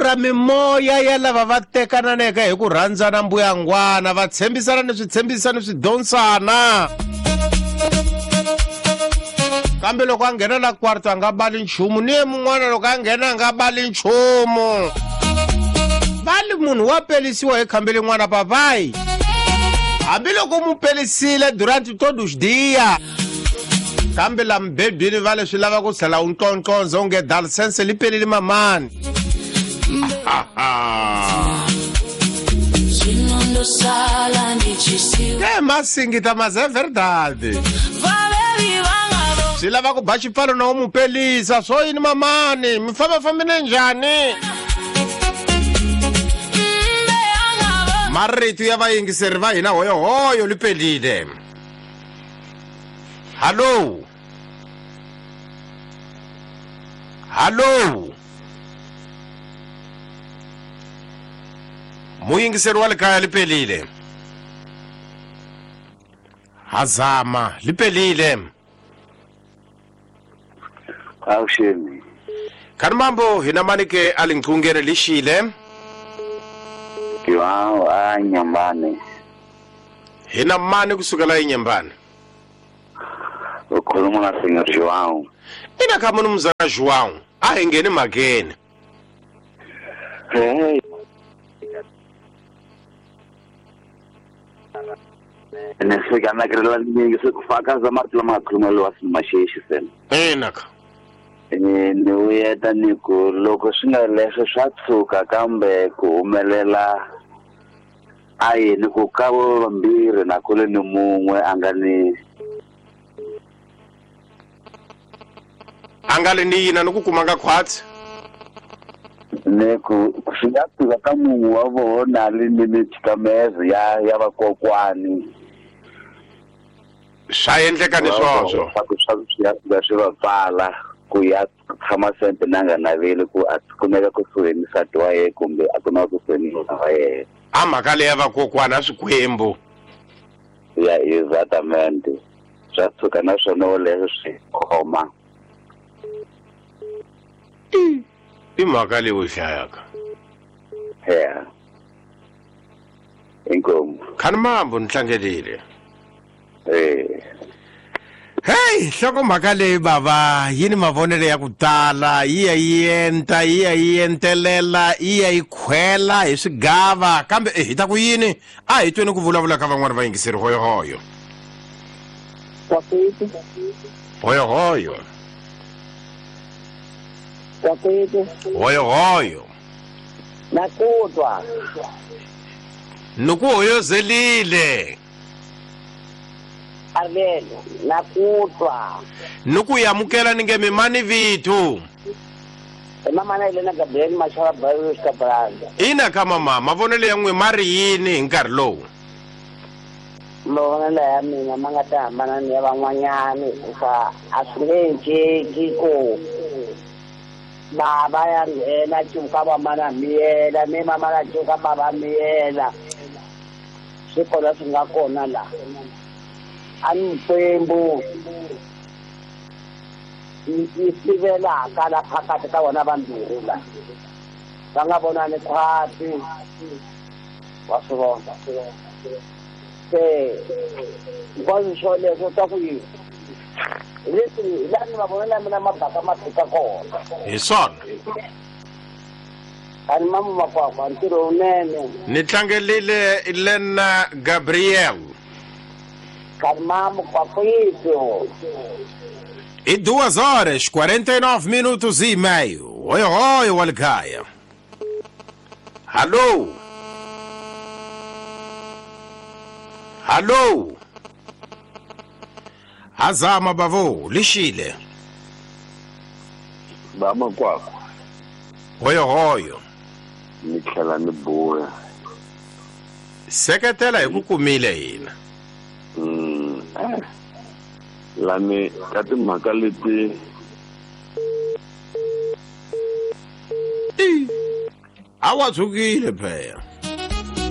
pfurha mimoya ya lava va tekananeke hi ku rhandzana mbuyangwana va tshembisana ni switshembisa ni swidonsana kambe loko a nghena la kwarto a nga bali nchumu ni ye mun'wana loko a nghena a nga bali nchumu va li munhu wa pelisiwa hi khambi lin'wana papayi hambiloko mu pelisile durante todos dia kambe la mubedwini va leswi lava ku tlhela u ntlontlonza onge dalsense li pelile mamani. Ke masingita mas é verdade. Swi lava ku ba xipfalo na u mu pelisa swo yini mamani mi fambafambile njhani? Marito ya vayingiseri va hina hoyohoyo li pelile. Hallo, hallo, muyingiseri wa le kaya li pelile. Hazama li pelile. Avuxeni. Khani mambo hina manike a linqungene lixile. João a Nyambane. Hina mani kusukela eNyambane? Ukhuluma na Senhor João. Ina kha mnumzana João, a hi ngheni mhakeni. Hey. Nifika na kirela ningi sikufakaza marito lama khuluma lowa simaxexi sena. Ina kha. Ni vuyeta ni ku loko swi nga leswo swa tshuka kambe ku humelela a yini ku ka vo vambirhi na kule ni mun'we a nga ni a nga li ni yina ni ku kumanga khwatsi ni ku swi nga tshuka ka mun'we wa vona li ni mitshikamezo ya vakokwani. Swa endleka ni swoswo swi va pfala ku ya tshama sempe na nga naveli ku a kumeka kusuhi ni nsati wa yena kumbe a kumeka kusuhi ni nuna wa yena. A mhaka leyi ya vakokwana swikwembu. Ya exatamente. Swa tshuka na swona leswi swi khoma. I mhaka leyi u hlayaka. Yeah. Inkomu. Khani mambo ni tlangelile. Eh. Hey, nhlokomhaka leyi bava yi ni mavonelo ya ku tala, yi ya yi enta, yi ya yi entelela, yi ya yi khwela hi swigava, kambe hi ta ku yini? A hi tweni ku vulavula ka van'wana vayingiseri hoyohoyo. Kwakwethu. Hoyohoyo. Kwakwethu. Hoyohoyo. Nakutwa. Nuku hoyozelile. Avelo, nakutwa. Nuku yamukela ninge mimani vithu. Mama na Elena Gabriel Mashara Barros Cabranda. Ina kama mama, mavonelo ya n'we ma ri yini hi nkarhi lowu? Mavonelo ya mina ma nga ta hambana ni ya van'wanyani hikuva a swi nge enceki ku bava ya nghena cuka vamana miyela ni mamana cuka bava miyela. Swi kona swi nga kona la. A ni Xikwembu yi sivelaka la phakathi ka vona vambirhi la. Va nga vonani khwati. Wa swi vona. Se hinkwaswo swoleswo swa ku yini? Leswi hi laha ni mavonelo ya mina ma baka ma fika kona. Hi swona. A ni mamu makwakwa ntirho wunene. Ni tlangelile Elena Gabriel. Karimamu kwakwethu. E 2 horas 49 minutos e meio. Oi, oi, Walkaya. Alô? Alô? Azama bavo, lixile. Bama kwakwa. Oi, oi. Ni tlhela ni buya. Seketela hi ku kumile hina. Lani ka timhaka leti a wa tshukile phela.